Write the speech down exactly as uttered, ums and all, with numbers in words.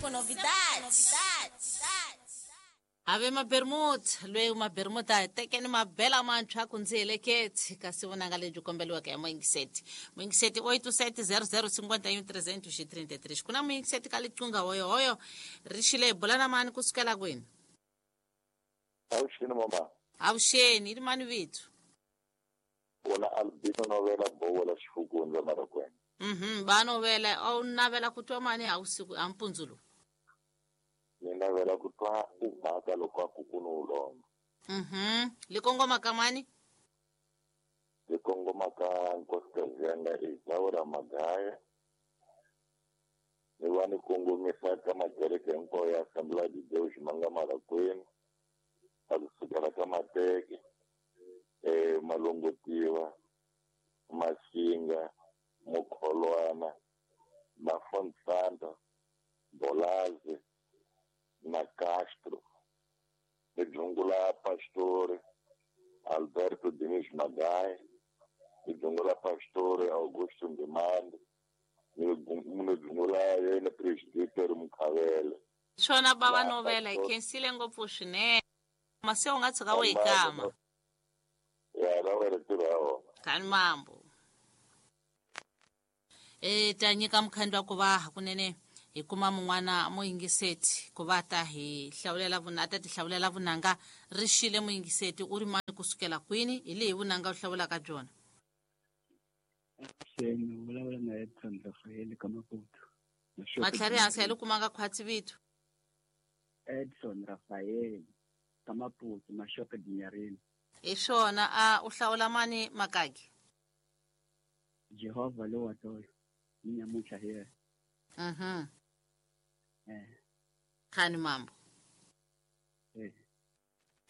com novidades. Ave mabermuda lweyi mabermuda tekeni mabela mantshwa ku ndzi heleketi kasi vunanga lebyi kombeliweke hi muyingiseti muyingiseti oito sete zero zero cinquenta e um trezentos e trinta e três ku na muyingiseti ka liqunga hoyohoyo ri xile hi bula na mani kusukela kwini? Avuxeni mama. Avuxeni, i ri mani vito? Wona Albino Novela Bowola Xifukundza Marakwena. Mhm, ba novela a wu navela ku twa mani a wusiku a mpundzu lowu? Ni navela ku twa umhaka loko a ku ku ni wu lomba. Mhm, li kongoma ka mani? Li kongoma ka nkosikazi ya nga Isaura Magaya. Ni va ni kongomisa ka makereke hinkwawo ya Assembly de Deus ma nga Marakwena, a kusukela ka Mateke, eh, Malongotiwa, Masinga, Mokholwana, Mafonsanta, Bolaze na Castro, ni dzungula Pastor Alberto Diniz Magaya, ni dzungula Pastor Augusto Ndimande, ni ni dzungula yena Presbítero Mukhavele. Swona bava La novela hi Pastor khensile ngopfu swinene. Mase u nga tshuka u yi kama. Ya ra wena ntirho ya wona. Kani mambo. E ta nyika mukhandlu wa ku va hakunene hi kuma mun'wana muyingiseti ku va ta hi hlawulela vuna ta ti hlawulela vunanga ri xile muyingiseti u ri mani kusukela kwini hi lehi vunanga u hlawulaka byona? Avuxeni, u vulavula na Edson Rafael ka Maputo. Matlhari hansi ya le kumanga khwatsi vito. Edson Rafael ka Maputo, Mashoka Dinyarini. Hi swona a u hlawula mani makaki? Jehovah lo wa tolo. Ni nyamuntlha hi yena. Mhm. Eh. Khani mambo.